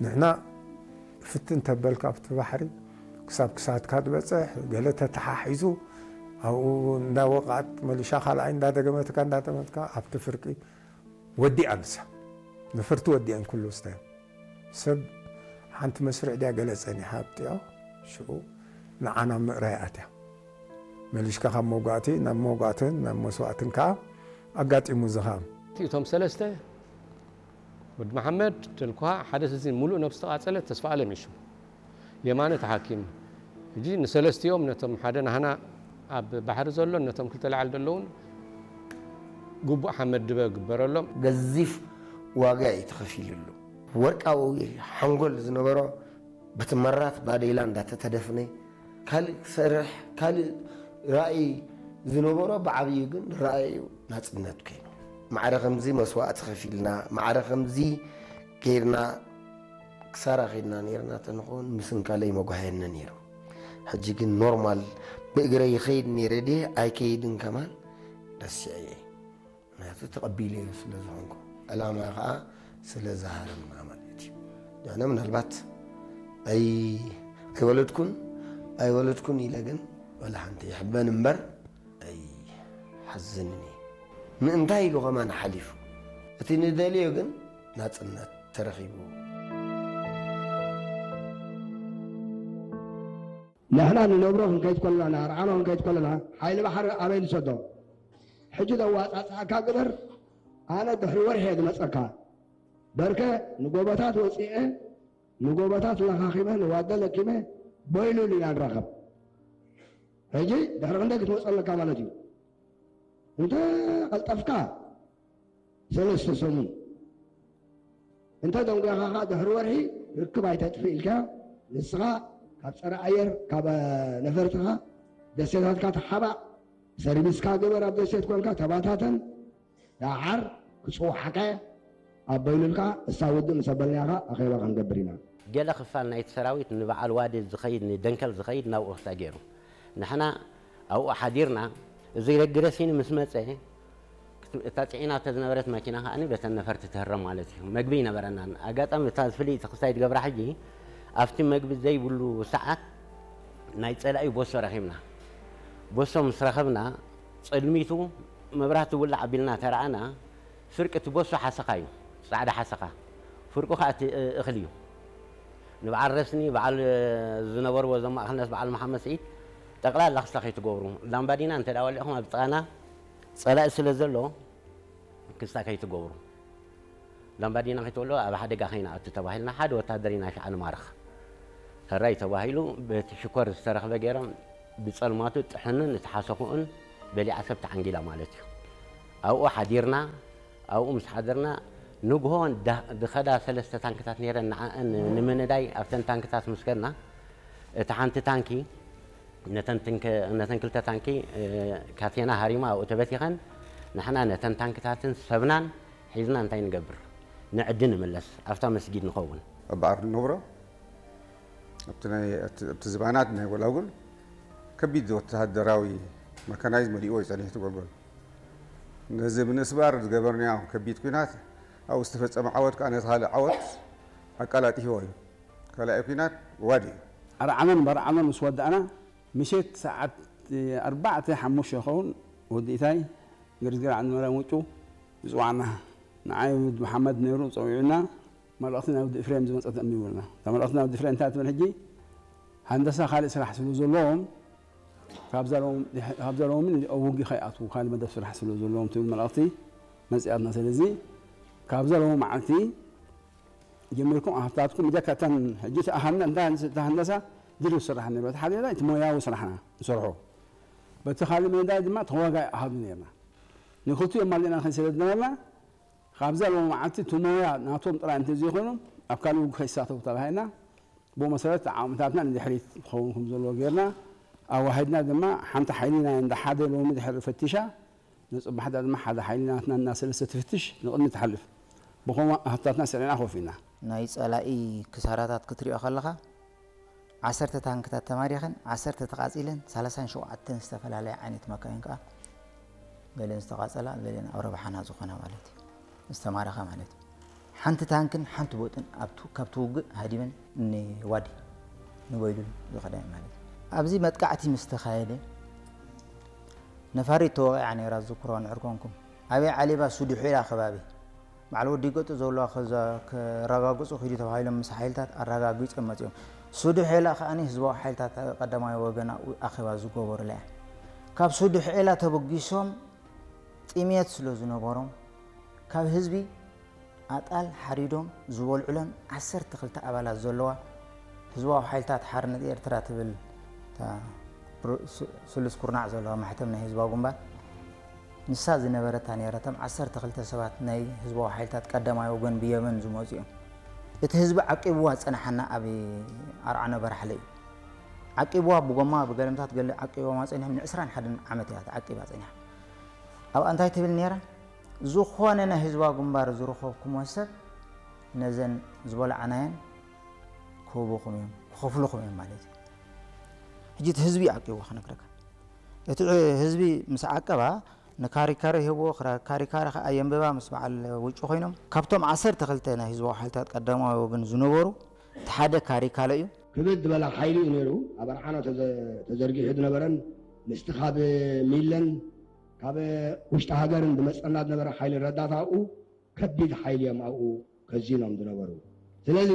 ንሕና ፍትን ተበልካ ኣብቲ ባሕሪ ክሳብ ክሳድካ ትበፅሕ፣ ገለ ተተሓሒዙ ኣብኡ እንዳወቕዓት መሊሻ ካልኣይ እንዳደገመትካ እንዳጠመትካ ኣብቲ ፍርቂ ወዲኣ ንሳ። ነፈርቲ ወዲኣን ኩሉ ስታዮም። ሰብ ሓንቲ መስርዕ ድያ ገለ ጸኒሓ ኣብጢኦ፣ ሽዑ ንዓና ምእራይ ኣትያ። መሊሽካ ካብ መውጋእቲ ናብ መውጋእትን ናብ መስዋእትን ከኣ ኣጋጢሙ እዚ ኸኣ። እቶም ሰለስተ፣ ወዲ መሓመድ፣ ተልኳ፣ ሓደ ስዚን፣ ሙሉእ ነብሲ ተቓጸለ፣ ተስፋ ኣለም እዩ ሽሙ። የማነ ተሓኪሙ። ሕጂ ንሰለስቲኦም፣ ነቶም ሓደ ናህና ኣብ ባሕሪ ዘሎን ነቶም ክልተ ላዕሊ ዘለውን ግቡእ ሓመድ ድበ ግበረሎም። ገዚፍ ዋጋ እዩ ተኸፊሉሉ። ወርቃዊ ሓንጎል ዝነበሮ በቲ መራት ባዴላ እንዳተተደፍነ፣ ካልእ ክሰርሕ፣ ካልእ ራእይ ዝነበሮ ብዓብዩ ግን ራእዩ ናጽነት ኮይኑ። ማዕረ ከምዚ መስዋእቲ ከፊልና፣ ማዕረ ከምዚ ጌርና ክሳራ ኸይድና ኔርና ተንኸውን ምስንካለይ መጓህየኒ ነይሩ። ሕጂ ግን ኖርማል ብእግረይ ይኸይድ ነይረ ድየ ኣይከይድን ከማን ረሲዐየ። ምክንያቱ ተቐቢለዮ ስለ ዝኾንኩ፣ ዕላማ ኸዓ ስለ ዝሃረምና ማለት እዩ። ንሕና ምናልባት ኣይ-፣ ኣይወለድኩን፣ ኣይወለድኩን ኢለ ግን ዋላ ሓንቲ ይሕበን እምበር ኣይሓዝንን እየ። ምእንታይ ኢሉ ኸማን ሓሊፉ። እቲ ንደልዮ ግን ናጽነት ተረኺቡ። ንሕና ንነብሮ ክንከይድ ከለና፣ ንኣርዓኖ ክንከይድ ከለና፣ ሓይሊ ባሕሪ ኣበይ ንሰዶ? ሕጂ ዘዋጻጽኣካ ግበር፣ ኣነ ድሕሪ ወርሒ እየ ዝመጸካ። በርከ ንጎቦታት ወጺኤ፣ ንጎቦታት ለኻኺመ፣ ንዋደ ለኪመ፣ በይሉል ኢና ንራኸብ። ሕጂ ድሕሪ ክንደይ ክትመጸለካ ማለት እዩ? እንተ ቀልጠፍካ፣ ሰለስተ ሰሙን። እንተ ደንጒኻ ኸኣ ድሕሪ ወርሒ ርክብ ኣይተጥፍእ ኢልካ፣ ንስኻ ካብ ጸረ ኣየር፣ ካብ ነፈርትኻ፣ ደሴታትካ ተሓባእ፣ ሰርቪስካ ግበር፣ ኣብ ደሴት ኮንካ ተባታተን፣ ደሓር ክጽውዓካ እየ፣ ኣበይሉልካ፣ እሳ ውድእ ምስ ኣበልናኻ ኣኼባ ክንገብር ኢና። ገለ ክፋል ናይቲ ሰራዊት ንበዓል ዋዲ ዝኸይድ፣ ንደንከል ዝኸይድ ናብኡ ክሳእ ገይሩ። ንሕና ኣብኡ ሓዲርና፣ እዚ ረግረሲኒ ምስ መጸ፣ እታ ጽዒናቶ ዝነበረት መኪና ከኣ በተን ነፈርቲ ትህረም ማለት እዩ። መግቢ ይነበረናን። ኣጋጣሚ እታ ፍልይቲ ክስታይ ትገብራ ሕጂ፣ ኣብቲ መግቢ ዘይብሉ ሰዓት ናይ ጸላኢ ቦሶ ረኺብና። ቦሶ ምስ ረኸብና፣ ጸልሚቱ መብራህቲ ውላዕ ኣቢልና ተረኣና፣ ፍርቂ እቲ ቦሶ ሓሰኻ እዩ፣ ጻዕዳ ሓሰኻ። ፍርቁ ከኣ እቲ እኽሊ እዩ። ንበዓል ረስኒ፣ በዓል ዝነበርዎ እዞም ማእከልነት በዓል መሓመድ ስዒድ፣ ጠቕላላ ክስታ ከይትገብሩ። ላምባዲና እንተ ደኣ ወሊዕኹም ኣብ ጥቓና ጸላኢ ስለ ዘሎ፣ ክስታ ከይትገብሩ። ላምባዲና ከይትወልዑ ኣብ ሓደጋ ከይንኣቱ ተባሂልና፣ ሓደ ወታደር ኢና ሽዓ ንማርኽ። ሕራይ ተባሂሉ፣ በቲ ሽኮር ዝተረኽበ ገይሮም፣ ብጸልማቱ ጥሕንን እቲ ሓሰኹኡን በሊዓ ሰብ ተዓንጊላ ማለት እዩ። ኣብኡ ሓዲርና፣ ኣብኡ ምስ ሓደርና፣ ንግሆ ዳ-፣ ዝኸዳ ሰለስተ ታንክታት ነይረን፣ ንዓኣን ንምንዳይ ኣብተን ታንክታት ምስ ከድና፣ እታ ሓንቲ ታንኪ ነተን ትንከ-፣ ነተን ክልተ ታንኪ፣ እ፣ ካቴና ሃሪማ ኣብኡ ተበቲኸን፣ ንሕና ነተን ታንክታትን ሰብናን ሒዝና እንታይ ንገብር? ንዕዲ ንምለስ፣ ኣብታ መስጊድ ንኸውን። ኣብ በዓር ንነብሮ፣ ኣብቲ ናይ፣ ኣብቲ፣ ኣብቲ ዝባናት ናይ ጎላጉል ከቢድ ወተሃደራዊ መካናይዝ መሊእዎ እዩ ጸኒሑ እቲ ጎልጎል። ነዚ ብምስባር ዝገበርናዮ ከቢድ ኲናት፣ ኣብኡ ዝተፈጸመ ዓወት ከኣ ነቲ ካልእ ዓወት ኣቀላጢፍዎ እዩ። ካልኣይ ኲናት ዋዲ እዩ። ኣርዓኖን በርዓኖን ምስ ወዳእና፣ ምሸት ሰዓት ኣርባዕተ ሓሙሽተ ይኸውን፣ ወዲ ኢታይ፣ ገርዝገር ዓንዲ ማርያም ውጩ፣ ይጽዋዕና። ንዓይ ወዲ መሓመድ ነይሩ፣ ጸዊዑና፣ መልእኽቲ ናይ ወዲ ኤፍሬም ዝመጸት ኣንቢቡልና። እታ መልእኽቲ ናይ ወዲ ኤፍሬም እንታይ ትብል ሕጂ? ሃንደሳ ካልእ ስራሕ ስለ ዘለዎም፣ ካብዛ ሎም-፣ ካብዛ ሎሚ ውግእ ከይኣትዉ፣ ካልእ መደብ ስራሕ ስለ ዘለዎም ትብል መልእኽቲ መጺኣትና። ስለዚ፣ ካብዛ ሎሚ መዓልቲ ጀሚርኩም ኣሃፍታትኩም ብጀካ እተን ሕጂ እቲ ኣሃና-፣ እንታ-፣ እቲ ሃንደሳ ድርብ ስራሕ ነይሩ። እቲ ሓደ እቲ ሞያዊ ስራሕና ንሰርሖ። በቲ ካልእ መዳይ ድማ ተዋጋኢ ኣሃዱ ነይርና። ንክልቲኦም ማሊእና ንኸይድ ስለ ዝነበርና፣ ካብዛ ሎሚ መዓልቲ እቲ ሞያ ናቶም ጥራይ እንተዘይኮይኖም፣ ኣብ ካልእ ውግእ ከይሳተፉ ተባሂልና፣ ብኡ መሰረት ዓቕምታትና ንድሕሪት ክኸውን ከም ዘለዎ ጌርና፣ ኣዋሂድና ድማ ሓንቲ ሓይሊ ናይ እንዳ ሓደ ሎሚ ድሕሪ ፈቲሻ፣ ንጽባሕታ ድማ ሓደ ሓይሊ ናትና እና ሰለስተ ትፍትሽ ንቕድሚ ትሓልፍ። ብኸምኡ ኣሃፍታትና ስዒና ኮፍ ኢልና። ናይ ጸላኢ ክሳራታት ክትሪኦ ከለኻ፣ ዓሰርተ ታንክታት ተማሪኸን፣ ዓሰርተ ተቓጺለን፣ ሰላሳን ሸውዓተን ዝተፈላለያ ዓይነት መካይን ከኣ ገለን ዝተቓጸላ፣ ገለን ኣብ ረብሓና ዝኾና ማለት እዩ። ዝተማረኻ ማለት እዩ። ሓንቲ ታንክን ሓንቲ ቦጥን ኣብቱ ካብቲ ውግእ ሃዲመን ንዋዲ ንበይሉል ዝኸዳ ማለት እዩ። ኣብዚ መጥቃዕቲ ምስ ተኻየደ ነፋሪት ተወቒዓ ነይራ፣ ዝዝክሮ ንዕርኮንኩም ኣበይ ዓሊባ ሱዱሑላ ከባቢ በዓል ወዲ ገጡ ዘለዋ ከረጋግጹ ኪዱ ተባሂሎም ምስ ሓይልታት ኣረጋጊጾም መጺኦም። ሱዱሑላ ከኣ ህዝባዊ ሓይልታት ቀዳማይ ወገን ኣብኡ ኣኼባ ዝገበሩላ እያ። ካብ ሱዱሑላ ተበጊሶም ጥምየት ስለ ዝነበሮም ካብ ህዝቢ ኣጣል ሓሪዶም ዝበልዑለን ዓሰርተ ክልተ ኣባላት ዘለዋ ህዝባዊ ሓይልታት ሓርነት ኤርትራ ትብል እታ ሩ- ስ- ስሉስ ኩርናዕ ዘለዋ ማሕተም ናይ ህዝባዊ ግንባር ንሳ ዝነበረታ ነይራ። እቶም ዓሰርተ ክልተ ሰባት ናይ ህዝባዊ ሓይልታት ቀዳማይ ወገን ብየመን ዝመጹ እዮም። እቲ ህዝቢ ዓቂብዋ ዝጸንሓና ኣብ ኣርዓኖ በራሕለ እዩ። ዓቂብዋ ብጎማ ብገለምታት ገለ ዓቂብዋ ጸኒሖም ን ዕስራን ሓደን ዓመት እያ ተዓቂባ ጸኒሓ። ኣብኣ እንታይ ትብል ነይራ? ዝኾነ ናይ ህዝባዊ ግንባር ዝረኸብኩሞ ሰብ ነዘን ዝበላዕናየን ክህቡኹም እዮም፣ ክኸፍሉኹም እዮም ማለት እዩ። ሕጂ እቲ ህዝቢ ዓቂቡ ክነግረካ። እቲ ህዝቢ ምስ ዓቀባ ንካሪካረ ይህብዎ፣ ክራ- ካሪካረ ከኣ የንብባ ምስ በዓል ውጩ ኮይኖም። ካብቶም ዓሰርተ ክልተ ናይ ህዝባዊ ሓይልታት ቀዳማዊ ወገን ዝነበሩ እቲ ሓደ ካሪካለ እዩ። ክብድ ዝበለ ሓይሊ እዩ ነይሩ ኣብ ኣርዓኖ ተዘ- ተዘርጊሑ ዝነበረን ምስቲ ካብ ሚለን ካብ ውሽጢ ሃገርን ዝመጸና ዝነበረ ሓይሊ ረዳት ኣብኡ ከቢድ ሓይሊ እዮም ኣብኡ ከዚኖም ዝነበሩ። ስለዚ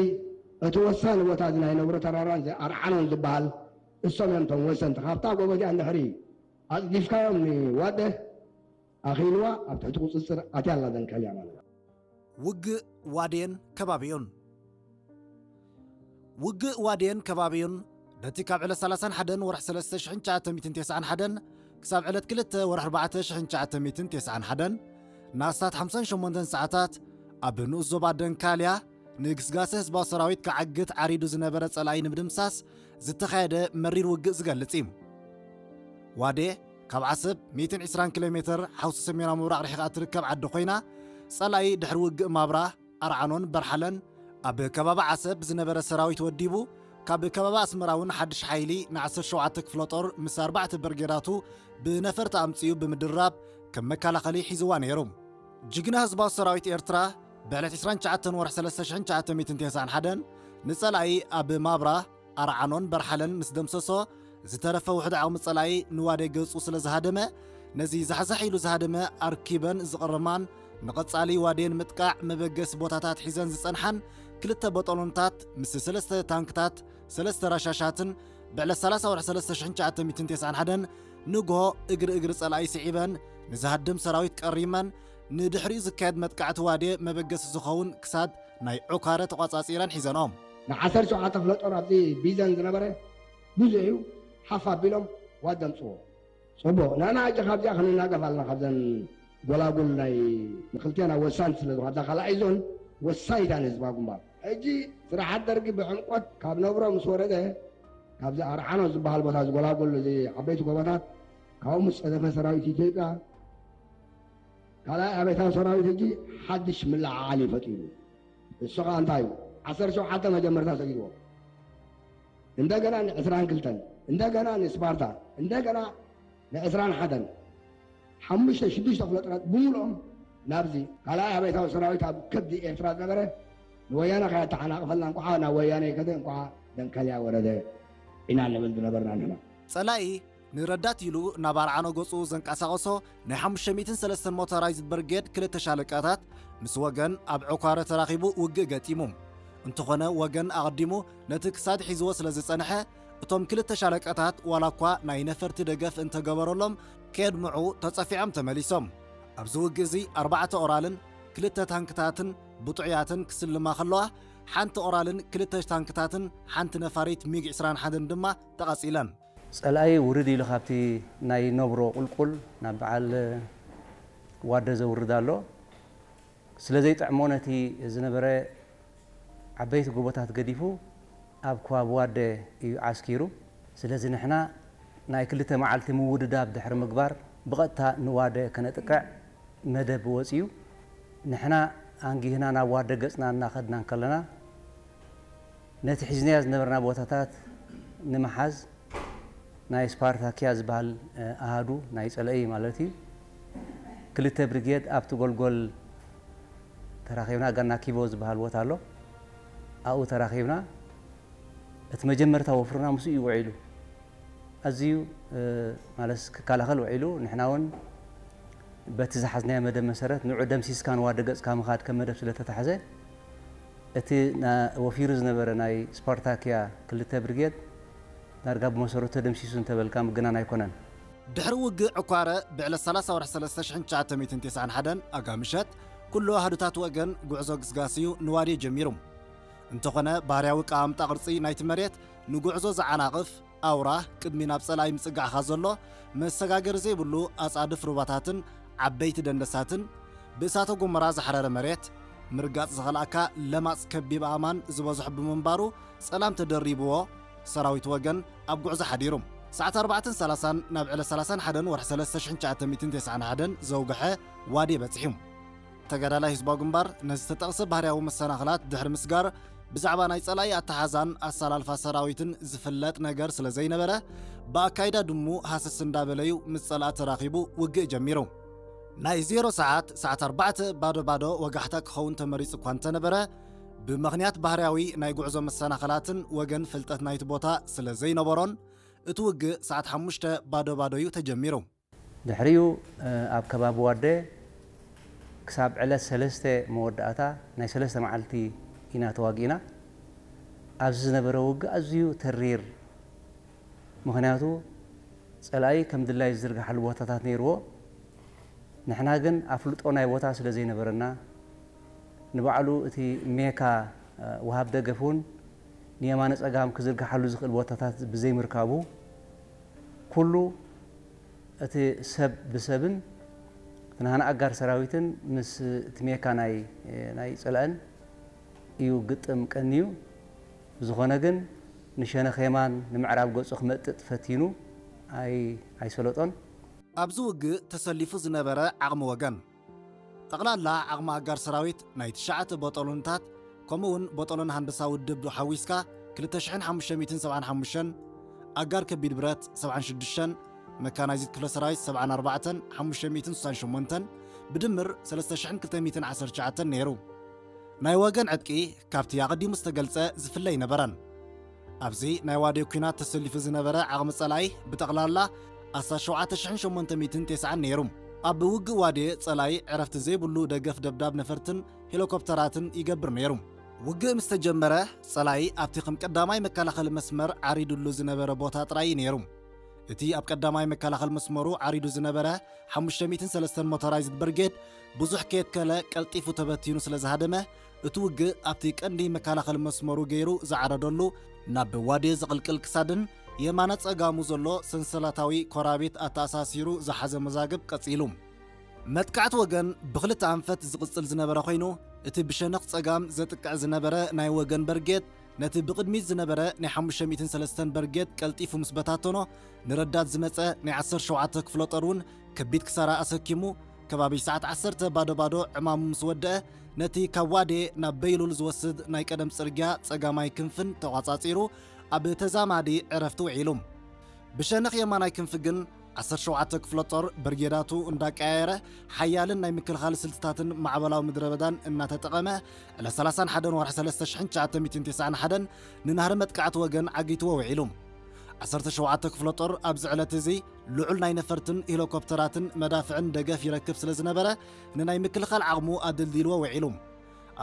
እቲ ወሳኒ ቦታ እዚ ናይ ነብሮ ተራራን እዚ ኣርዓኖን ዝበሃል እሶም እዮም እቶም ወሰንቲ። ካብታ ጎቦ እዚኣ እንድሕሪ ኣጽዲፍካዮም ንዋደ ኣኺልዋ ኣብ ትሕቲ ቁጽጽር ኣትያ ኣላ ደንከልያ ማለት እዩ። ውግእ ዋዴን ከባቢኡን። ውግእ ዋዴን ከባቢኡን ነቲ ካብ ዕለት ሰላሳን ሓደን ወርሒ ሰለስተ ሽሕን ትሽዓተ ሚእትን ተስዓን ሓደን ክሳብ ዕለት ክልተ ወርሒ ኣርባዕተ ሽሕን ትሽዓተ ሚእትን ተስዓን ሓደን ንኣስታት ሓምሳን ሸሞንተን ሰዓታት ኣብ ንኡስ ዞባ ደንካልያ ንግስጋሰ ህዝባዊ ሰራዊት ክዓግት ዓሪዱ ዝነበረ ጸላኢ ንምድምሳስ ዝተኻየደ መሪር ውግእ ዝገልጽ እዩ። ዋዴ ካብ ዓሰብ ሚእትን ዕስራን ኪሎ ሜትር ሓውሲ ሰሜናዊ ምብራቕ ርሒቓ እትርከብ ዓዲ ኮይና፣ ጸላኢ ድሕሪ ውግእ ማብራ፣ ኣርዓኖን በርሓለን ኣብ ከባቢ ዓሰብ ዝነበረ ሰራዊት ወዲቡ ካብ ከባቢ ኣስመራ እውን ሓድሽ ሓይሊ ን ዓሰርተ ሸውዓተ ክፍለ ጦር ምስ ኣርባዕተ ብርጌዳቱ ብነፈርቲ ኣምጺኡ ብምድራብ ከም መከላኸሊ ሒዝዋ ነይሩ። ጅግና ህዝባዊ ሰራዊት ኤርትራ ብዕለት ዕስራን ትሽዓተን ወርሒ ሰለስተ ሽሕን ትሽዓተ ሚእትን ተስዓን ሓደን ንጸላኢ ኣብ ማብራ ኣርዓኖን በርሓለን ምስ ደምሰሶ ዝተረፈ ውሕድ ዓቕሚ ጸላኢ ንዋዴ ገጹ ስለ ዝሃደመ ነዚ ዛሕዛሕ ኢሉ ዝሃደመ ኣርኪበን ዝቕርማን ንቐጻሊ ዋዴ ንምጥቃዕ መበገሲ ቦታታት ሒዘን ዝጸንሓን ክልተ በጠሎንታት ምስ ሰለስተ ታንክታት ሰለስተ ራሻሻትን ብዕለት ሰላሳ ወርሒ ሰለስተ ሽሕን ትሽዓተ ሚእትን ተስዓን ሓደን ንግሆ እግሪ እግሪ ጸላኢ ስዒበን ንዝሃድም ሰራዊት ቀሪመን ንድሕሪኡ ዝካየድ መጥቃዕቲ ዋዴ መበገሲ ዝኸውን ክሳድ ናይ ዑካረ ተቋጻጺረን ሒዘንኦም። ንዓሰርተ ሸውዓተ ክፍለ ጦር ኣብዚ ቢዘን ዝነበረ ብዙሕ እዩ ሓፍ ኣቢሎም ዋድ ዘምፅዎ። ፅቡቕ ንሕና ሕጂ ካብዚኣ ክንናገፍ ኣለና ካብዘን ጎላጉል ናይ ንክልቴና ወሳንቲ ስለ ዝኾና እዛ ካልኣይ ዞን ወሳኒት እያ ንህዝባዊ ግንባር። ሕጂ ስርዓት ደርጊ ብዕምቆት ካብ ነብሮ ምስ ወረደ ካብዚ ኣርዓኖ ዝበሃል ቦታ ዝጎላጉል እዚ ዓበይቲ ጎቦታት ካብኡ ምስ ፀደፈ ሰራዊት ኢትዮጵያ ካልኣይ ኣቤታዊ ሰራዊት ሕጂ ሓድሽ ምልዕዓል እዩ ፈጢሩ። እሱ ከዓ እንታይ እዩ? ዓሰርተ ሸውዓተ መጀመርታ ሰጊድዎ እንደገና ንዕስራን ክልተን እንደገና ንስፓርታ እንደገና ንዕስራን ሓደን ሓሙሽተ ሽዱሽተ ክፍለ ጦራት ብምልኦም ናብዚ ካልኣይ ኣቤታዊ ሰራዊት ኣብ ከብዲ ኤርትራ ዝነበረ ንወያነ ከያተሓናቕፈልና እንኳዓ ናብ ወያነ ከደ እንኳዓ ደንከልያ ወረደ ኢና ንብል ዝነበርና ንሕና። ጸላኢ ንረዳት ኢሉ ናብ ኣርዓኖ ገጹ ዘንቀሳቐሶ ናይ ሓሙሽተ ሚእትን ሰለስተን ሞተራይዝድ ብርጌድ ክልተ ሻለቃታት ምስ ወገን ኣብ ዑካረ ተራኺቡ ውግእ ገጢሙ። እንተኾነ ወገን ኣቐዲሙ ነቲ ክሳድ ሒዝዎ ስለ ዝጸንሐ እቶም ክልተ ሻለቃታት ዋላ እኳ ናይ ነፈርቲ ደገፍ እንተገበረሎም ከየድምዑ ተጸፊዖም ተመሊሶም። ኣብዚ ውግእ እዚ ኣርባዕተ ኦራልን ክልተ ታንክታትን ብጡዕያትን ክስልማ ከለዋ ሓንቲ ኦራልን ክልተ ታንክታትን ሓንቲ ነፋሪት ሚግ ዕስራን ሓደን ድማ ተቓጺለን። ጸላኢ ውርድ ኢሉ ካብቲ ናይ ነብሮ ቁልቁል ናብ በዓል ዋደ ዘውርድ ኣሎ። ስለ ዘይጥዕሞ ነቲ ዝነበረ ዓበይቲ ጎቦታት ገዲፉ ኣብ ከባቢ ዋደ እዩ ዓስኪሩ። ስለዚ ንሕና ናይ ክልተ መዓልቲ ምውድዳብ ድሕሪ ምግባር ብቐጥታ ንዋደ ከነጥቅዕ መደብ ወጺኡ። ንሕና ኣንጊህና ናብ ዋደ ገጽና እናኸድና እንከለና ነቲ ሒዝናዮ ዝነበርና ቦታታት ንምሓዝ ናይ ስፓርታኪያ ዝበሃል ኣሃዱ ናይ ጸላኢ ማለት እዩ ክልተ ብሪጌድ ኣብቲ ጎልጎል ተራኺብና። ጋና ኪቦ ዝበሃል ቦታ ኣሎ፣ ኣብኡ ተራኺብና። እቲ መጀመርታ ወፍርና ምስኡ እዩ ውዒሉ። ኣዝዩ ማለት ክከላኸል ውዒሉ። ንሕና እውን በቲ ዝሓዝናዮ መደብ መሰረት ንዑ ደምሲስካ ንዋደ ገጽካ ምኻድ ከም መደብ ስለ ተታሕዘ፣ እቲ ወፊሩ ዝነበረ ናይ ስፓርታክያ ክልተ ብርጌድ ዳርጋ ብመሰረቱ ተደምሲሱ እንተበልካ ምግናን ኣይኮነን። ድሕሪ ውግእ ዕኳረ ብዕለት ሰላሳ ወርሒ ሰለስተ ሽሕን ትሽዓተ ሚእትን ተስዓን ሓደን ኣጋ ምሸት ኩሉ ኣህዱታት ወገን ጉዕዞ ግስጋስዩ ንዋዴ ጀሚሩ። እንተኾነ ባህርያዊ ቀማምጣ ቅርጺ ናይቲ መሬት ንጉዕዞ ዝዓናቕፍ ኣውራ ቅድሚ ናብ ጸላኢ ምጽጋዕኻ ዘሎ መሰጋገሪ ዘይብሉ ኣጻድፍ ሩባታትን ዓበይቲ ደንደሳትን ብእሳተ ጎመራ ዝሓረረ መሬት ምርጋጽ ዝኸልኣካ ለማጽ ከቢብ ኣእማን ዝበዝሖ ብምንባሩ ጸላም ተደሪብዎ ሰራዊት ወገን ኣብ ጉዕዞ ሓዲሩ። ሰዓት ኣርባዕተን ሰላሳን ናብ ዕለት ሰላሳን ሓደን ወርሒ ሰለስተ ሽሕን ትሽዓተ ሚእትን ተስዓን ሓደን ዘውግሐ ዋዴ በጺሑ። ተጋዳላይ ህዝባዊ ግንባር ነዚ ዝተጠቕሰ ባህርያዊ መሰናኽላት ድሕሪ ምስጋር ብዛዕባ ናይ ጸላኢ ኣተሓዛን ኣሰላልፋ ሰራዊትን ዝፍለጥ ነገር ስለ ዘይነበረ ብኣካይዳ ድሙ ሃሰስ እንዳበለዩ ምስ ጸላኢ ተራኺቡ ውግእ ጀሚሩ። ናይ ዜሮ ሰዓት፣ ሰዓት ኣርባዕተ ባዶ ባዶ ወጋሕታ ክኸውን ተመሪጹ እኳ እንተነበረ፣ ብምኽንያት ባህርያዊ ናይ ጉዕዞ መሰናኸላትን ወገን ፍልጠት ናይቲ ቦታ ስለ ዘይነበሮን፣ እቲ ውግእ ሰዓት ሓሙሽተ ባዶ ባዶ እዩ ተጀሚሩ። ድሕሪኡ ኣብ ከባቢ ዋደ ክሳብ ዕለት ሰለስተ መወዳእታ ናይ ሰለስተ መዓልቲ ኢና ተዋጊእና። ኣብዚ ዝነበረ ውግእ ኣዝዩ ተሪር፣ ምኽንያቱ ጸላኢ ከም ድላይ ዝዝርግሓሉ ቦታታት ነይርዎ። ንሕና ግን ኣፍልጦ ናይ ቦታ ስለ ዘይነበረና፣ ንባዕሉ እቲ ሜካ ወሃብ ደገፍ እውን ንየማነ ጸጋም ክዝርግሓሉ ዝኽእል ቦታታት ብዘይምርካቡ፣ ኩሉ እቲ ሰብ ብሰብን እቲ ናህና ኣጋር ሰራዊትን ምስ እቲ ሜካ ናይ ናይ ጸላእን እዩ ግጥም ቀንዩ። ብዝኾነ ግን ንሸነኽ የማን ንምዕራብ ገጹ ክመጥጥ ፈቲኑ ኣይ ኣይሰለጦን። ኣብዚ ውግእ ተሰሊፉ ዝነበረ ዓቕሚ ወገን። ጠቕላላ ዓቕሚ ኣጋር ሰራዊት ናይ ትሽዓተ ቦጦሎንታት ከምኡ እውን ቦጦሎን ሃንደሳ ውድብ ሓዊስካ ክልተ ሽሕን ሓሙሽተ ሚእትን ሰብዓን ሓሙሽተን፣ ኣጋር ከቢድ ብረት ሰብዓን ሽዱሽተን፣ መካናይዝድ ክፍለ ሰራዊት ሰብዓን ኣርባዕተን ሓሙሽተ ሚእትን ስሳን ሸሞንተን፣ ብድምር ሰለስተ ሽሕን ክልተ ሚእትን ዓሰርተ ትሽዓተን ነይሩ። ናይ ወገን ዕጥቂ ካብቲ ኣቐዲሙ ዝተገልጸ ዝፍለ ኣይነበረን። ኣብዚ ናይ ዋዴ ኲናት ተሰሊፉ ዝነበረ ዓቕሚ ጸላኢ ብጠቕላላ ኣስታት ሸውዓተ ሽሕን ሸሞንተ ሚእትን ተስዓን ነይሩ። ኣብ ውግእ ዋዴ ጸላኢ ዕረፍቲ ዘይብሉ ደገፍ ደብዳብ ነፈርትን ሄሊኮፕተራትን ይገብር ነይሩ። ውግእ ምስ ተጀመረ፣ ጸላኢ ኣብቲ ከም ቀዳማይ መከላኸሊ መስመር ዓሪዱሉ ዝነበረ ቦታ ጥራይ እዩ ነይሩ። እቲ ኣብ ቀዳማይ መከላኸሊ መስመሩ ዓሪዱ ዝነበረ ሓሙሽተ ሚእትን ሰለስተን ሞተራይዝድ ብርጌድ ብዙሕ ከየትከለ ቀልጢፉ ተበቲኑ ስለ ዝሃደመ፣ እቲ ውግእ ኣብቲ ቀንዲ መከላኸሊ መስመሩ ገይሩ ዝዓረደሉ፣ ናብ ዋዴ ዝቕልቅል ክሳድን የማነ ጸጋሙ ዘሎ ሰንሰለታዊ ኮራቤት ኣተኣሳሲሩ ዝሓዘ መዛግብ ቀጺሉ። መጥቃዕቲ ወገን ብኽልተ ኣንፈት ዝቕጽል ዝነበረ ኮይኑ፣ እቲ ብሸነኽ ጸጋም ዘጥቅዕ ዝነበረ ናይ ወገን በርጌድ፣ ነቲ ብቕድሚት ዝነበረ ናይ ሓሙሽተ ሚእትን ሰለስተን በርጌድ ቀልጢፉ ምስ በታተኖ፣ ንረዳት ዝመጸ ናይ ዓሰርተ ሸውዓተ ክፍለ ጦር እውን ከቢድ ክሳራ ኣሰኪሙ፣ ከባቢ ሰዓት ዓሰርተ ባዶ ባዶ ዕማሙ ምስ ወደአ፣ ነቲ ካብ ዋዴ ናብ በይሉል ዝወስድ ናይ ቀደም ጽርግያ ጸጋማይ ክንፍን ተቋጻጺሩ፣ ኣብ ተዛማዲ ዕረፍቲ ውዒሉ። ብሸነኽ የማናይ ክንፊ ግን ዓሰርተ ሸውዓተ ክፍለ ጦር ብርጌዳቱ እንዳቀያየረ፣ ሓያልን ናይ ምክልኻል ስልትታትን ማዕበላዊ ምድረ በዳን እናተጠቐመ፣ ዕለት ሰላሳን ሓደን ወርሒ ሰለስተ ሽሕን ትሽዓተ ሚእትን ተስዓን ሓደን ንናህሪ መጥቃዕቲ ወገን ዓጊትዎ ውዒሉ። ዓሰርተ ሸውዓተ ክፍለ ጦር ኣብዚ ዕለት እዚ ልዑል ናይ ነፈርትን ሄሊኮፕተራትን መዳፍዕን ደገፍ ይረክብ ስለ ዝነበረ፣ ንናይ ምክልኻል ዓቕሙ ኣደልዲልዎ ውዒሉ።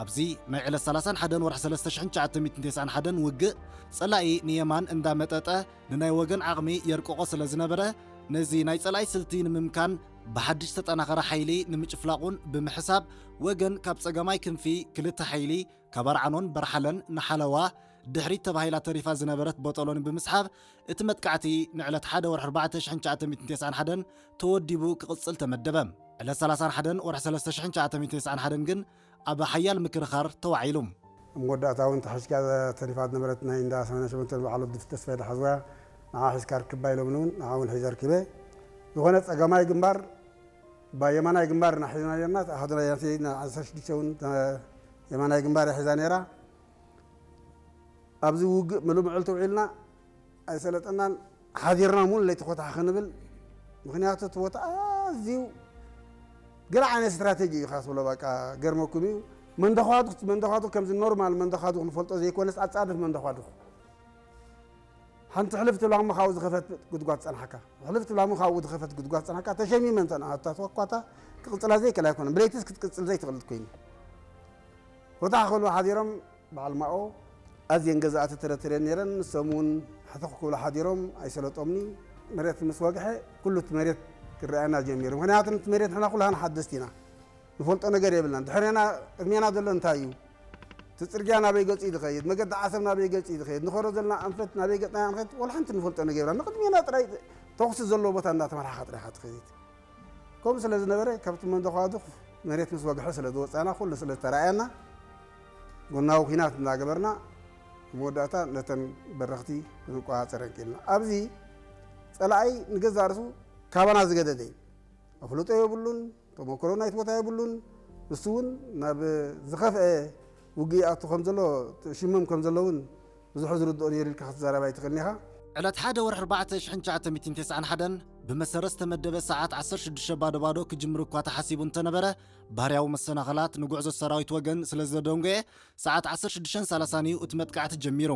ኣብዚ ናይ ዕለት ሰላሳን ሓደን ወርሒ ሰለስተ ሽሕን ትሽዓተ ሚእትን ተስዓን ሓደን ውግእ፣ ጸላኢ ንየማን እንዳመጠጠ ንናይ ወገን ዓቕሚ የርቅቖ ስለ ዝነበረ፣ ነዚ ናይ ጸላኢ ስልቲ ንምምካን ብሓድሽ ዝተጠናኸረ ሓይሊ ንምጭፍላቑን ብምሕሳብ፣ ወገን ካብ ጸጋማይ ክንፊ ክልተ ሓይሊ፣ ካብ ኣርዓኖን በርሓለን ንሓለዋ ድሕሪት ተባሂላ ተሪፋ ዝነበረት ቦጦሎኒ ብምስሓብ፣ እቲ መጥቃዕቲ ንዕለት ሓደ ወርሒ ኣርባዕተ ሽሕን ትሽዓተ ሚእትን ተስዓን ሓደን ተወዲቡ ክቕጽል ተመደበ። ዕለት ሰላሳን ሓደን ወርሒ ሰለስተ ሽሕን ትሽዓተ ሚእትን ተስዓን ሓደን ግን ኣብ ሓያል ምክርኻር ተዋዒሉ። ኣብ መወዳእታ እውን ተሓሽካ ተሪፋ ዝነበረት ናይ እንዳ ሰማንያ ሸሞንተ በዓል ወዲ ተስፋይ ዝሓዝዋ ንዓ ሒዝካ ርክባ ኢሎምኒ እውን ንዓ እውን ሒዘ ርኪበ። ዝኾነ ጸጋማይ ግንባር፣ ባ የማናይ ግንባር ኢና ሒዝና ነርና፣ ኣሃዱና ናተይ ን ዓሰርተ ሽዱሽተ እውን ተ-፣ የማናይ ግንባር እያ ሒዛ ነይራ። ኣብዚ ውግእ ምሉእ መዓልቲ ውዒልና ኣይሰለጠናን፣ ሓዲርና እውን ለይቲ ኮታሕ ክንብል፣ ምኽንያቱ እቲ ቦታ ኣዝዩ ገለ ዓይነት ስትራቴጂ እዩ ኢኻ ትብሎ፣ በቃ ገርመኩም እዩ። መንደኳድኩ መንደኳድኩ ከምዚ ኖርማል መንደኳድኩ ንፈልጦ ዘይኮነስ ኣጻድፍ መንደኳድኩ ሓንቲ ሕልፍ ትብላ እሞ ካብኡ ዝኸፈት ጉድጓድ ጸንሓካ፣ ሕልፍ ትብላ እሞ ካብኡ ዝኸፈት ጉድጓድ ጸንሓካ። ተሸሚመ እንተ ንኣታ ተኳኳታ ክቕጽላ ዘይክእል ኣይኮነን። ብለይትስ ክትቅጽል ዘይትኽእል ኮይኑ። ርታሕ ክብሉ ሓዲሮም በዓል ማኦ ኣዝየን ገዛእቲ ተረትረን ነይረን። ንሶም እውን ሕትኽ ክብሉ ሓዲሮም ኣይሰለጦምኒ። መሬት ምስ ወግሐ ኩሉ እቲ መሬት ክረኣየና ጀሚሩ። ምኽንያቱ እቲ መሬት ንሕና ኩላህና ሓደስቲ ኢና። ንፈልጦ ነገር የብልናን። ድሕሬና ቅድሜና ዘሎ እንታይ እዩ? እቲ ጽርግያ ናበይ ገጹ እዩ ዝኸይድ? መገዲ ዓሰብ ናበይ ገጹ እዩ ዝኸይድ? ንኸዶ ዘለና ኣንፈት ናበይ ገጽና ኢና ንኸይድ? ወላ ሓንቲ ንፈልጦ ነገር የብልና። ንቕድሜና ጥራይ ተኹሲ ዘለዎ ቦታ እንዳተመርሓኻ ጥራይ ኢኻ ትኸይድ። ከምኡ ስለ ዝነበረ ካብቲ መንደኳድኽ መሬት ምስ ወግሐ ስለ ዝወጻና ኩሉ ስለ ዝተረኣየና ጎናዊ ኲናት እንዳገበርና መወዳእታ ነተን በረኽቲ ክንቆጻጸረን ክኢልና። ኣብዚ ጸላኣይ ንገዛእ ርእሱ ካባና ዝገደደ እዩ። ኣፍልጦ የብሉን፣ ተመክሮ ናይቲ ቦታ የብሉን። ንሱ እውን ናብ ዝኸፍአ ውግእ ይኣቱ ከም ዘሎ፣ ሽምም ከም ዘሎ እውን ብዙሕ ዝርድኦ ነይሩ ኢልካ ክትዛረብ ኣይትኽእልን ኢኻ። ዕለት ሓደ ወርሒ ኣርባዕተ ሽሕን ትሽዓተ ሚእትን ተስዓን ሓደን ብመሰረት ዝተመደበ ሰዓት ዓሰርተ ሽዱሽተ ባዶ ባዶ ክጅምር እኳ ተሓሲቡ እንተነበረ፣ ባህርያዊ መሰናኸላት ንጉዕዞ ሰራዊት ወገን ስለ ዘደንጎየ፣ ሰዓት ዓሰርተ ሽዱሽተን ሰላሳን እዩ እቲ መጥቃዕቲ ጀሚሩ።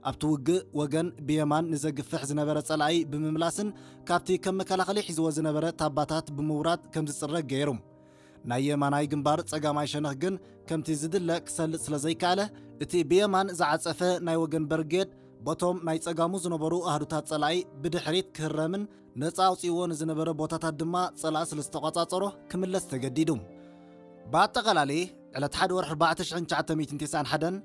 ኣብቲ ውግእ ወገን ብየማን ንዘግፍሕ ዝነበረ ጸላኢ ብምምላስን ካብቲ ከም መከላኸሊ ሒዝዎ ዝነበረ ታባታት ብምውራድ ከም ዝጽረግ ገይሩ። ናይ የማናይ ግንባር ጸጋማይ ሸነኽ ግን ከምቲ ዝድለ ክሰልጥ ስለ ዘይከኣለ፣ እቲ ብየማን ዝዓጸፈ ናይ ወገን በርጌድ በቶም ናይ ጸጋሙ ዝነበሩ ኣህዱታት ጸላኢ ብድሕሪት ክህረምን ነጻ ኣውጺእዎ ንዝነበረ ቦታታት ድማ ጸላኢ ስለ ዝተቖጻጸሮ ክምለስ ተገዲዱ። ብኣጠቓላሊ ዕለት ሓደ ወርሒ ኣርባዕተ ሽሕን ትሽዓተ ሚእትን ተስዓን ሓደን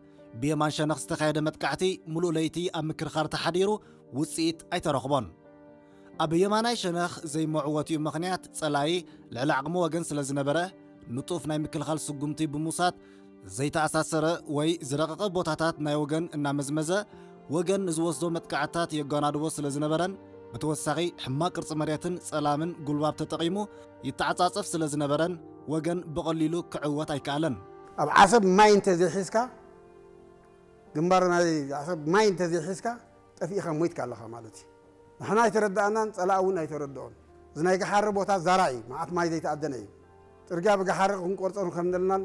ብየማን ሸነኽ ዝተኻየደ መጥቃዕቲ ምሉእ ለይቲ ኣብ ምክርኻር ተሓዲሩ ውጽኢት ኣይተረኽቦን። ኣብ የማናይ ሸነኽ ዘይመዕወቲኡ ምኽንያት ጸላኢ ልዕሊ ዓቕሚ ወገን ስለ ዝነበረ፣ ንጡፍ ናይ ምክልኻል ስጉምቲ ብምውሳድ፣ ዘይተኣሳሰረ ወይ ዝረቐቐ ቦታታት ናይ ወገን እናመዝመዘ፣ ወገን ንዝወስዶ መጥቃዕትታት የጓናድቦ ስለ ዝነበረን፣ ብተወሳኺ ሕማቕ ቅርጺ መሬትን ጸላምን ጉልባብ ተጠቒሙ ይተዓጻጸፍ ስለ ዝነበረን፣ ወገን ብቐሊሉ ክዕወት ኣይከኣለን። ኣብ ዓሰብ ማይ እንተዘይሒዝካ፣ ግንባር ናይ ዓሰብ ማይ እንተዘይሒዝካ፣ ጠፊእኻ ሞይትካ ኣለኻ ማለት እዩ። ንሕና ኣይተረዳእናን፣ ጸላእ እውን ኣይተረድኦን። እዚ ናይ ገሓሪ ቦታ ዛራ እዩ፣ መዓት ማይ ዘይተኣደነ እዩ። ጽርግያ ብገሓሪ ክንቆርጾ ከም ዘለናን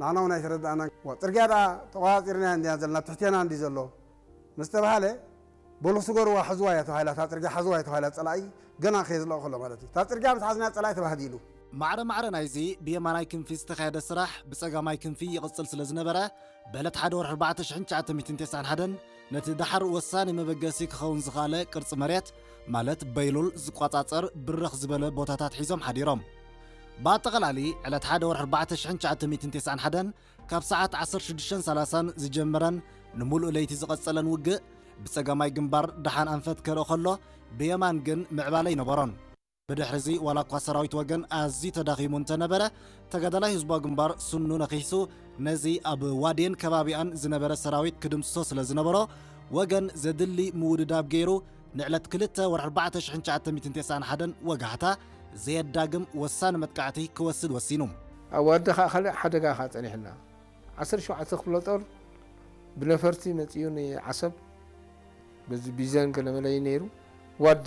ንሕና እውን ኣይተረዳእናን። ዋ፣ ጽርግያ ደኣ ተቆጻጺርና እንዲና ዘለና፣ ትሕቴና እንዲ ዘሎ ምስ ተባሃለ፣ በሉ ስገርዋ፣ ሓዝዋ እያ ተባሂላ፣ እታ ጽርግያ ሓዝዋ እያ ተባሂላ፣ ጸላኢ ገና ከየዝለቐ ከሎ ማለት እዩ። እታ ጽርግያ ምስ ሓዝና ጸላኢ ተባህዲሉ። ማዕረ ማዕረ ናይዚ ብየማናይ ክንፊ ዝተኻየደ ስራሕ ብጸጋማይ ክንፊ ይቕጽል ስለ ዝነበረ፣ ብዕለት ሓደ ወርሒ ኣርባዕተ ሽሕን ትሽዓተ ሚእትን ተስዓን ሓደን ነቲ ደሓር ወሳኒ መበገሲ ክኸውን ዝኸኣለ ቅርጺ መሬት፣ ማለት በይሉል ዝቆጻጸር ብርኽ ዝበለ ቦታታት ሒዞም ሓዲሮም። ብኣጠቓላሊ፣ ዕለት ሓደ ወርሒ ኣርባዕተ ሽሕን ትሽዓተ ሚእትን ተስዓን ሓደን ካብ ሰዓት ዓሰርተ ሽዱሽተን ሰላሳን ዝጀመረን ንምሉእ ለይቲ ዝቐጸለን ውግእ፣ ብጸጋማይ ግንባር ደሓን ኣንፈት ከርኢ ከሎ፣ ብየማን ግን ምዕባለ ኣይነበሮን። ብድሕሪዚ ዋላ እኳ ሰራዊት ወገን ኣዝዩ ተዳኺሙ እንተነበረ፣ ተጋዳላይ ህዝባዊ ግንባር ስኑ ነኺሱ ነዚ ኣብ ዋዴን ከባቢኣን ዝነበረ ሰራዊት ክድምስሶ ስለ ዝነበሮ፣ ወገን ዘድሊ ምውድዳብ ገይሩ ንዕለት ክልተ ወርሒ ኣርባዕተ ሽሕን ትሽዓተ ሚእትን ተስዓን ሓደን ወጋሕታ ዘየዳግም ወሳኒ መጥቃዕቲ ክወስድ ወሲኑ። ኣብ ዋደ ኸኣ ካልእ ሓደጋ ኸኣ ጸኒሕና። ዓሰርተ ሸውዓተ ክፍለ ጦር ብነፈርቲ መጺኡ ንዓሰብ በዚ ቢዘን ገለመለይ ነይሩ። ዋደ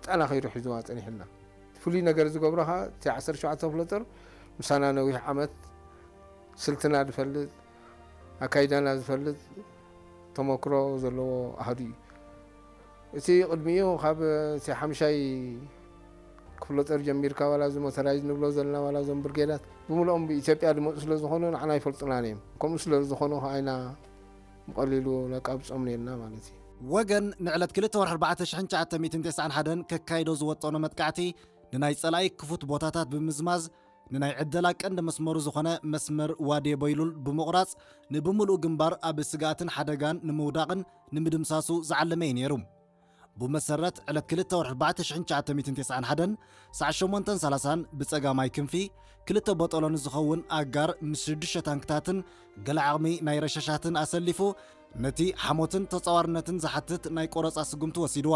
ጠና ከይዱ ሒዝዋ ጸኒሕና። ፍሉይ ነገር ዝገብሮ ኸኣ እቲ ዓሰርተ ሸውዓተ ክፍለ ጦር ምሳና ነዊሕ ዓመት ስልትና ዝፈልጥ፣ ኣካይዳና ዝፈልጥ፣ ተመክሮ ዘለዎ ኣሃዱ እዩ። እቲ ቅድሚኡ ካብ እቲ ሓምሻይ ክፍለ ጦር ጀሚርካ ዋላ እዚ ሞተራይዝ ንብሎ ዘለና ዋላ እዞም ብርጌዳት ብምልኦም ብኢትዮጵያ ዝመጹ ስለ ዝኾኑ ንዓና ኣይፈልጡናን እዮም። ከምኡ ስለ ዝኾኑ ኸኣ ኢና ብቐሊሉ ነቃብጾም ነርና ማለት እዩ። ወገን ንዕለት ክልተ ወርሒ ኣርባዕተ ሽሕን ትሽዓተ ሚእትን ተስዓን ሓደን ከካይዶ ዝወጠኖ መጥቃዕቲ ንናይ ጸላኢ ክፉት ቦታታት ብምዝማዝ፣ ንናይ ዕደላ ቀንዲ መስመሩ ዝኾነ መስመር ዋዴ በይሉል ብምቑራጽ፣ ንብምሉኡ ግንባር ኣብ ስግኣትን ሓደጋን ንምውዳቕን ንምድምሳሱ ዝዓለመ እዩ ነይሩ። ብመሰረት ዕለት ክልተ ወርሒ ኣርባዕተ ሽሕን ትሽዓተ ሚእትን ተስዓን ሓደን ሰዓት ሸሞንተን ሰላሳን ብጸጋማይ ክንፊ ክልተ በጠሎን ዝኸውን ኣጋር ምስ ሽዱሽተ ታንክታትን ገለ ዓቕሚ ናይ ረሻሻትን ኣሰሊፉ ነቲ ሓሞትን ተጻዋርነትን ዝሓትት ናይ ቆረጻ ስጉምቲ ወሲድዎ።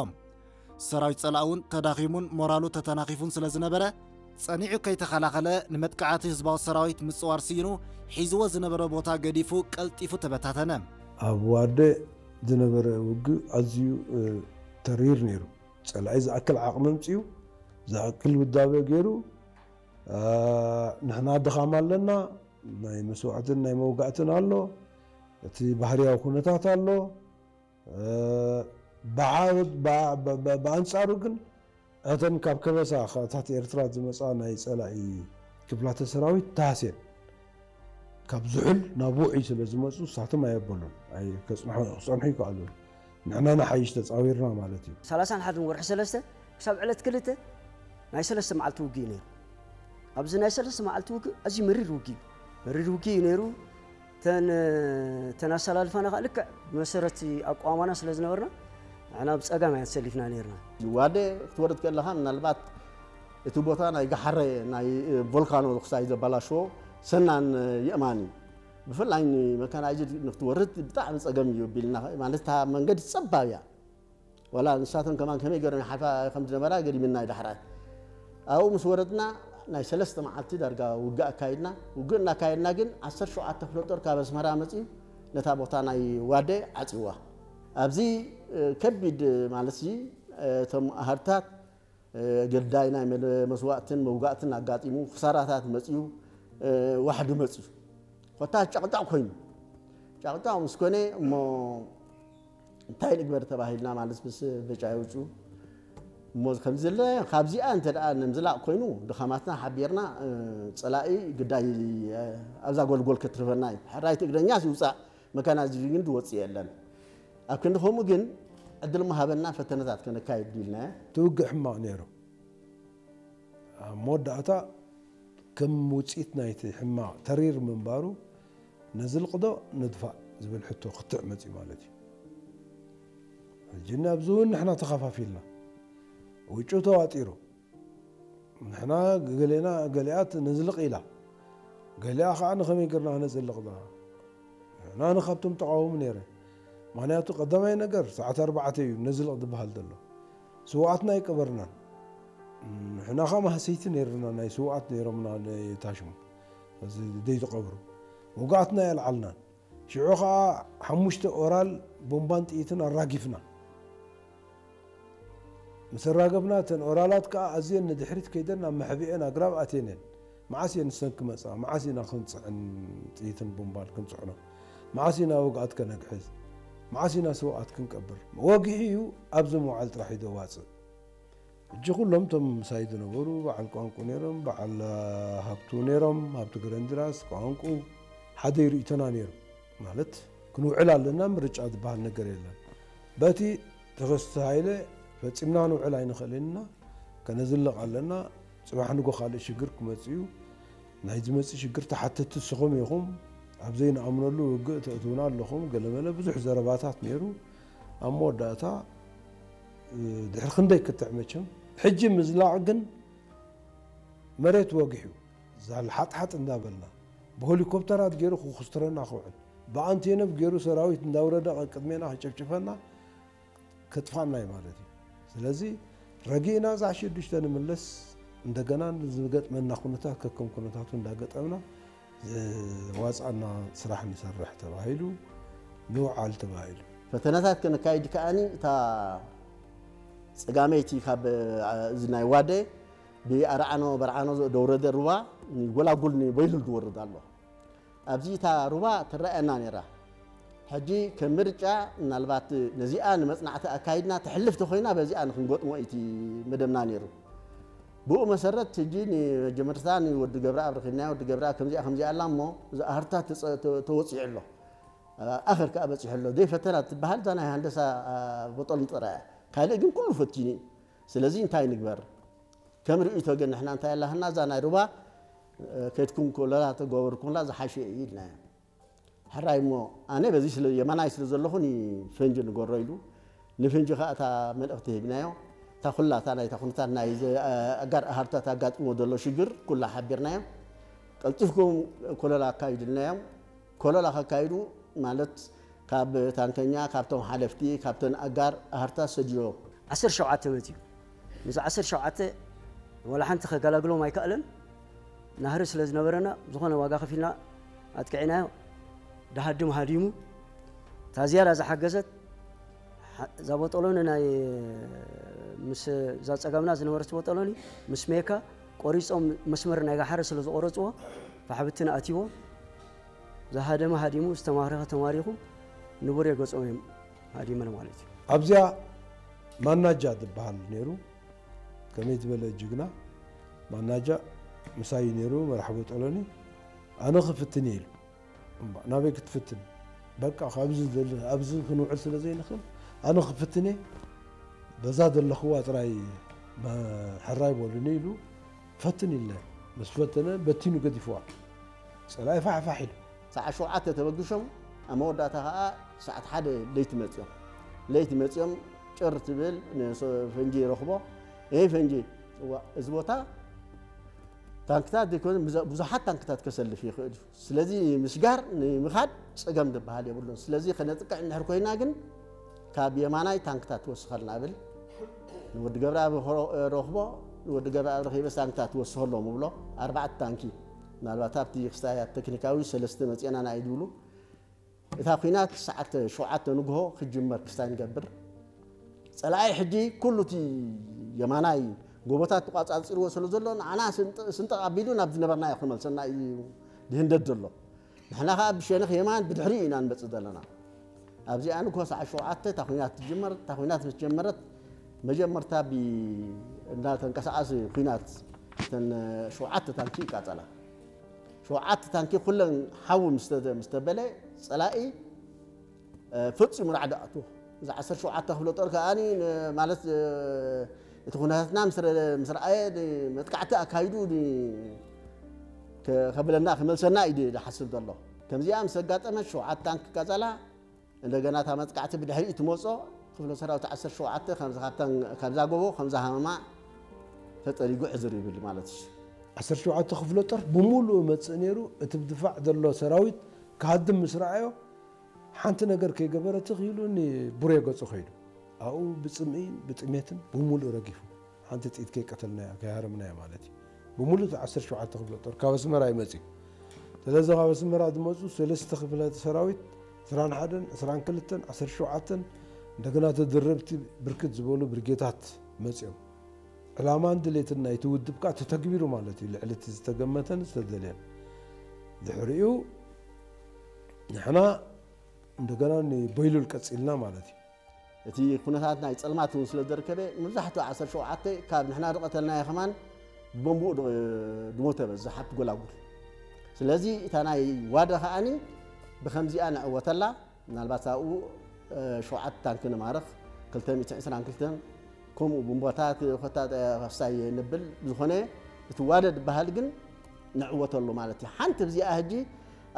ሰራዊት ጸላእ እውን ተዳኺሙን ሞራሉ ተተናኺፉን ስለ ዝነበረ፣ ጸኒዑ ከይተኸላኸለ ንመጥቃዕቲ ህዝባዊ ሰራዊት ምጽዋር ስኢኑ ሒዝዎ ዝነበረ ቦታ ገዲፉ ቀልጢፉ ተበታተነ። ኣብ ዋደ ዝነበረ ውግእ ኣዝዩ፣ እ፣ ተሪር ነይሩ። ጸላኢ ዝኣክል ዓቕሚ ኣምጺኡ፣ ዝኣክል ውዳበ ገይሩ፣ እ፣ ንሕና ድኻም ኣለና፣ ናይ መስዋዕትን ናይ መውጋእትን ኣሎ፣ እቲ ባህርያዊ ኩነታት ኣሎ። ብዓወት ብኣንጻሩ ግን እተን ካብ ከበሳ እታት ኤርትራ ዝመፃ ናይ ፀላኢ ክፍላተ ሰራዊት ተሃስየን ካብ ዝሑል ናብ ውዑይ ስለ ዝመፁ ሳቶም ኣየበሉን ክፀንሑ ይከኣሉ። ንሕና ንሓይሽ ተፃዊርና ማለት እዩ። ሰላሳን ሓደን ወርሒ ሰለስተ ክሳብ ዕለት ክልተ ናይ ሰለስተ መዓልቲ ውግእ ነይሩ። ኣብዚ ናይ ሰለስተ መዓልቲ ውግእ ኣዝዩ መሪር ውግእ እዩ። መሪር ውግእ እዩ ነይሩ። ተን ተናሰላልፋና ከዓ ልክዕ ብመሰረት ኣቋማና ስለ ዝነበርና ንሕና ብፀጋም እያ ተሰሊፍና ነርና። ዋደ ክትወርድ ከለኻ ምናልባት እቲ ቦታ ናይ ጋሓረ ናይ ቮልካኖ ክሳይ ዘባላሽዎ ሰናን የእማን እዩ። ብፍላይ ንመካናይዝድ ንክትወርድ ብጣዕሚ ፀገም እዩ ቢልና ማለት እታ መንገዲ ፀባብ እያ። ወላ ንሳተን ከማን ከመይ ገይሮም ይሓልፋ ከም ዝነበራ ገዲምና እዩ ዳሕራይ። ኣብኡ ምስ ወረድና ናይ ሰለስተ መዓልቲ ዳርጋ ውግእ ኣካይድና። ውግእ እናካየድና ግን ዓሰርተ ሸውዓተ ክፍለ ጦር ካብ ኣስመራ መፅዩ ነታ ቦታ ናይ ዋደ ዓፅዋ። ኣብዚ ከቢድ ማለት እዚ እቶም ኣሃድታት ገዳይ ናይ መስዋእትን መውጋእትን ኣጋጢሙ ክሳራታት መፅዩ ዋሕዲ መፅዩ ኮታ ጨቕጫቕ ኮይኑ ጨቕጫቕ ምስ ኮነ እሞ እንታይ ንግበር ተባሂልና ማለት ምስ በጫ የውፅኡ እሞ ከምዚ ዘለ ካብዚኣ እንተ ደኣ ንምዝላቕ ኮይኑ ድኻማትና ሓቢርና ፀላኢ ግዳይ ኣብዛ ጎልጎል ከትርፈና እዩ። ሕራይቲ እግረኛስ ይውፃእ መካናይዝድ ግን ዝወፅእ የለን። ኣብ ክንዲ ከምኡ ግን ዕድል ምሃበና ፈተነታት ከነካይድ ኢልና። እቲ ውግእ ሕማቕ ነይሩ። ኣብ መወዳእታ ከም ውፅኢት ናይቲ ሕማቕ ተሪር ምንባሩ ነዝልቕ ዶ ንድፋእ ዝብል ሕቶ ክትዕ መፅዩ ማለት እዩ። ሕጂ ኣብዚ እውን ንሕና ተኸፋፊልና ውጩ ተዋጢሩ። ንሕና ገሌና ገሊኣት ነዝልቕ ኢላ፣ ገሊኣ ከዓ ንኸመይ ገርና ክነዝልቕ ዳ ንሕና ንኻብቶም ተቓወሙ ነይረ። ምክንያቱ ቀዳማይ ነገር ሰዓት ኣርባዕተ እዩ ነዝልቕ ዝበሃል ዘሎ። ስውኣትና ኣይቀበርናን። ንሕና ከዓ ማህሰይቲ ነይርና ናይ ስውኣት ነይሮምና ታሽሙ እዚ ደይተቐብሩ ውግኣትና ኣየልዓልናን። ሽዑ ከዓ ሓሙሽተ ኦራል ቦምባን ጥይትን ኣራጊፍና። ምስ ኣራገብና እተን ኦራላት ከዓ ኣዝየን ንድሕሪት ከይደን ናብ መሕብኤን ኣግራብ ኣትየን እየን። መዓስ እየን ንሰን ክመፃ? መዓስ ኢና ክንፅዕን ጥይትን ቦምባን ክንፅዕኖ? መዓስ ኢና ውግኣት ከነግሕዝ? መዓስ ኢና ስውኣት ክንቀብር? ወግሒ እዩ ኣብዚ ምውዓል ጥራሕ እዩ ዘዋፅእ። ሕጂ ኩሎም እቶም ምሳይ ዝነበሩ በዓል ቋንቁ ነይሮም፣ በዓል ሃብቱ ነይሮም፣ ሃብቱ ገረንድራስ፣ ቋንቁ ሓደ ርእይቶና ነይሩ። ማለት ክንውዕል ኣለና፣ ምርጫ ዝበሃል ነገር የለን። በቲ ተኸስተ ሃይለ ፈጺምና ንውዕል ኣይንኽእልን ኢና፣ ከነዝልቕ ኣለና። ጽባሕ ንጎ ካልእ ሽግር ክመጽእ እዩ። ናይ ዝመጽእ ሽግር ተሓተቲ ንስኹም ኢኹም፣ ኣብ ዘይንኣምነሉ ውግእ ተእትውና ኣለኹም፣ ገለመለ ብዙሕ ዘረባታት ነይሩ። ኣብ መወዳእታ ድሕሪ ክንደይ ክትዕ መቸም ሕጂ ምዝላቕ ግን መሬት ወጊሑ ዛል ሓጥሓጥ እንዳበልና ብሄሊኮፕተራት ገይሩ ክኩስትረና ክውዕል ብኣንቴኖቭ ገይሩ ሰራዊት እንዳውረደ ቅድሜና ክጨፍጭፈና ከጥፋና እዩ ማለት እዩ። ስለዚ ረጊእና እዛ ሽዱሽተ ንምለስ እንደገና ዝገጥመና ኩነታት ከከም ኩነታቱ እንዳገጠምና ዝዋፅኣና ስራሕ ንሰርሕ ተባሂሉ ንውዓል ተባሂሉ። ፈተነታት ከነካይድ ከኣኒ እታ ፀጋመይቲ ካብ እዚ ናይ ዋደ ብኣርዓኖ በርዓኖ ደውረደ ሩባ ንጎላጉል ንበይሉል ዝወርድ ኣሎ። ኣብዚ እታ ሩባ ትረኣየና ነይራ። ሕጂ ከም ምርጫ ምናልባት ነዚኣ ንመፅናዕቲ ኣካይድና ተሕልፍ ተኮይና በዚኣ ንክንገጥሞ እቲ መደብና ነይሩ። ብኡ መሰረት ሕጂ ንመጀመርታ ንወዲ ገብረኣብ ረኺብናዮ። ወዲ ገብረኣብ ከምዚኣ ከምዚኣ ኣላ እሞ እዚ ኣህርታት ተወፂዑ ኣሎ፣ ኣኸር ከዓ በፂሑ ኣሎ። ዘይፈተና ትበሃል እዛ ናይ ሃንደሳ ቦጦል ጥራያ፣ ካልእ ግን ኩሉ ፈቲኑ እዩ። ስለዚ እንታይ ንግበር? ከም ርእይቶ ግን ንሕና እንታይ ኣላህና እዛ ናይ ሩባ ከድኩም ኮለላ ተገበርኩምላ ዝሓሸ እዩ ኢልናዮ። ሕራይ እሞ ኣነ በዚ ስለ የማናይ ስለ ዘለኹ ንፈንጂ ንገሮ ኢሉ ንፈንጂ ከዓ እታ መልእኽቲ ሂብናዮ። እታ ኩላ እታ ናይታ ኩነታት ናይ ኣጋር ኣሃርታት ኣጋጢሞ ዘሎ ሽግር ኩላ ሓቢርናዮ። ቀልጢፍኩም ኮለላ ኣካይድልናዮም። ኮለላ ከካይዱ ማለት ካብ ታንከኛ፣ ካብቶም ሓለፍቲ፣ ካብተን ኣጋር ኣሃርታት ሰዲዶ። ዓሰርተ ሸውዓተ መፅዩ። ምስ ዓሰርተ ሸውዓተ ወላ ሓንቲ ከገላግሎም ኣይከኣለን። ናህሪ ስለ ዝነበረና ዝኾነ ዋጋ ከፊልና ኣጥቂዕናዮ። ደሃድም ሃዲሙ። እታ ዝያዳ ዝሓገዘት እዛ ቦጦሎኒ ናይ ምስ እዛ ፀጋምና ዝነበረት ቦጦሎኒ ምስ ሜካ ቆሪፆም መስመር ናይ ጋሓረ ስለ ዝቆረፅዎ ፋሕብትን ኣትይዎ። ዝሃደመ ሃዲሙ፣ ዝተማረኸ ተማሪኹ፣ ንቡሬ ገጾም እዮም ሃዲመን ማለት እዩ። ኣብዚኣ ማናጃ ዝበሃል ነይሩ። ከመይ ዝበለ ጅግና ማናጃ ምሳይ ነይሩ። መርሓቦ ጠሎኒ። ኣነ ክፍትን እየ ኢሉ። እምባ ናበይ ክትፍትን? በቃ ካብዚ ዘለ ኣብዚ ክንውዕል ስለ ዘይንኽእል ኣነ ክፍትን እየ። በዛ ዘለኽዋ ጥራይ መ- ሕራይ በሉኒ ኢሉ ፈትን ኢለ ምስ ፈተነ በቲኑ ገዲፍዋ። ጸላኢ ፋሕፋሕ ኢሉ። ሰዓት ሸውዓተ ተበግሾም ኣብ መወዳእታ ከዓ ሰዓት ሓደ ለይቲ መፅኦም ለይቲ መፅኦም ጭር ትብል ፈንጂ ይረኽቦ። ይህ ፈንጂ እዋ፣ እዚ ቦታ ታንክታት ዘይኮነ ብዙ- ብዙሓት ታንክታት ከሰልፍ ይኽእል እዩ። ስለዚ ንምስጋር ንምኻድ ፀገም ዝበሃል የብሉን። ስለዚ ከነጥቅዕ እንድሕር ኮይና ግን ካብ የማናይ ታንክታት ትወስኸልና እብል። ንወዲ ገብረኣብ ረኽቦ፣ ንወዲ ገብረኣብ ረኺበስ ታንክታት ትወስኸሎም እብሎ። ኣርባዕተ ታንኪ ምናልባት ኣብቲ ክስታይ ኣብ ተክኒካዊ ሰለስተ መፅአና ኢና እዩ ዝብሉ። እታ ኲናት ሰዓት ሸውዓተ ንግሆ ክጅመር ክስታይ ንገብር። ፀላኢ ሕጂ ኩሉ እቲ የማናይ ጎቦታት ተቋፃፂርዎ ስለ ዘሎ ንዓና ስንጥቕ ኣቢሉ ናብ ዝነበርናዮ ክመልሰና እዩ ዝህንደድ ዘሎ። ንሕና ከዓ ብሸነኽ የማን ብድሕሪኡ ኢና ንመፅእ ዘለና። ኣብዚኣ ንግሆ ሰዓት ሸውዓተ እታ ኲናት ትጅመር። እታ ኲናት ምስ ጀመረት መጀመርታ ብ- እንዳተንቀሳቐሲ ኲናት እተን ሸውዓተ ታንኪ ይቃፀላ። ሸውዓተ ታንኪ ኩለን ሓዊ ምስ ተ- ምስ ተበለ ፀላኢ ፈፂሙ ራዕዲ ኣትዎ። እዚ ዓሰርተ ሸውዓተ ክፍለ ጦር ከኣ ማለት እቲ ኩነታትና ምስ ረ- ምስ ረኣየ መጥቃዕቲ ኣካይዱ ከብለና ክመልሰና እዩ ዝሓስብ ዘሎ። ከምዚኣ ምስ ኣጋጠመት ሸውዓተ ታንኪ ቀጸላ። እንደገና እታ መጥቃዕቲ ብድሕሪኡ ትመጾ ክፍለ ሰራዊት ዓሰርተ ሸውዓተ ካብዛ ጎቦ ከምዛ ሃመማ ተጠሪጉ ዕዝር ይብል ማለት እዩ። ዓሰርተ ሸውዓተ ክፍለ ጦር ብምሉኡ መጽእ ነይሩ። እቲ ብድፋዕ ዘሎ ሰራዊት ክሃድም ምስ ረኣዮ ሓንቲ ነገር ከይገበረ ትኽ ኢሉ ንቡሬ ገጹ ከይዱ ኣብኡ ብጽምእን ብጥሜትን ብምሉእ ረጊፉ። ሓንቲ ጥይት ከይቀተልናያ ከይሃረምናያ ማለት እዩ። ብምሉእ እቲ ዓሰርተ ሸውዓተ ክፍለ ጦር ካብ ኣስመራ እዩ መጺኡ። ስለዚ ካብ ኣስመራ ዝመጹ ሰለስተ ክፍለ ሰራዊት ዕስራን ሓደን ዕስራን ክልተን ዓሰርተ ሸውዓተን እንደገና ተደረብቲ ብርክት ዝበሉ ብርጌታት መጺኦም። ዕላማን ድሌትን ናይቲ ውድብ ከኣ ተተግቢሩ ማለት እዩ። ልዕሊ እቲ ዝተገመተን ዝተደልየን። ድሕሪኡ ንሕና እንደገና ንበይሉል ቀጺልና ማለት እዩ። እቲ ኩነታት ናይ ጸልማት እውን ስለ ዘርከበ መብዛሕትኡ ዓሰርተ ሸውዓተ ካብ ንሕና ዝቐተልናዮ ከማን ብቦምብኡ ድሞተ በዝሕ ኣብቲ ጎላጉል። ስለዚ እታ ናይ ዋደ ከኣኒ ብከምዚኣ ንዕወተላ። ምናልባት ኣብኡ ሸውዓተ ታንኪ ንማርኽ ክልተ ሚእትን ዕስራን ክልተን ከምኡ ብንቦታት ኮታ ከፍሳይ ንብል። ብዝኾነ እቲ ዋደ ዝበሃል ግን ንዕወተሉ ማለት እዩ። ሓንቲ ብዚኣ ሕጂ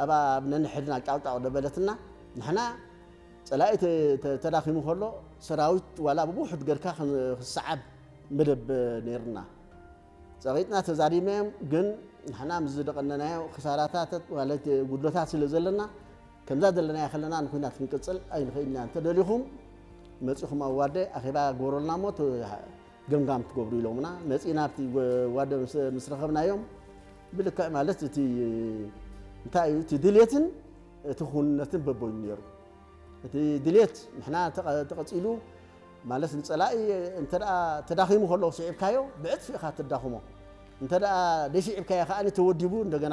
ኣብ ኣብ ነንሕድና ጫውጫው ደበለትና። ንሕና ጸላኢ ተዳኺሙ ከሎ ሰራዊት ዋላ ብውሑድ ገርካ ክሰዓብ መደብ ነይርና። ጸቒጥና ተዛሪብናዮም ግን ንሕና ምስ ዝደቐነናዮ ክሳራታት ማለት ጉድለታት ስለ ዘለና ከምዛ ዘለናዮ ከለና ንኹናት ክንቅጽል ኣይንኽእልና። እንተ ደሊኹም መጺኹም ኣብ ዋደ ኣኼባ ግበረልና እሞ ገምጋም ትገብሩ ኢሎምና። መጺና ኣብቲ ዋደ ምስ ረኸብናዮም ብልክዕ ማለት እቲ እንታይ እዩ እቲ ድልየትን እቲ ክውንነትን በበይኑ ነይሩ። እቲ ድሌት ንሕና ተቐጺሉ ማለት ንጸላኢ እንተ ተዳኺሙ ከሎ ስዒብካዮ ብዕጽፊ ኢኻ ትዳኽሞ። እንተ ደኣ ደይስዒብካዮ ከኣ ተወዲቡ እንደገና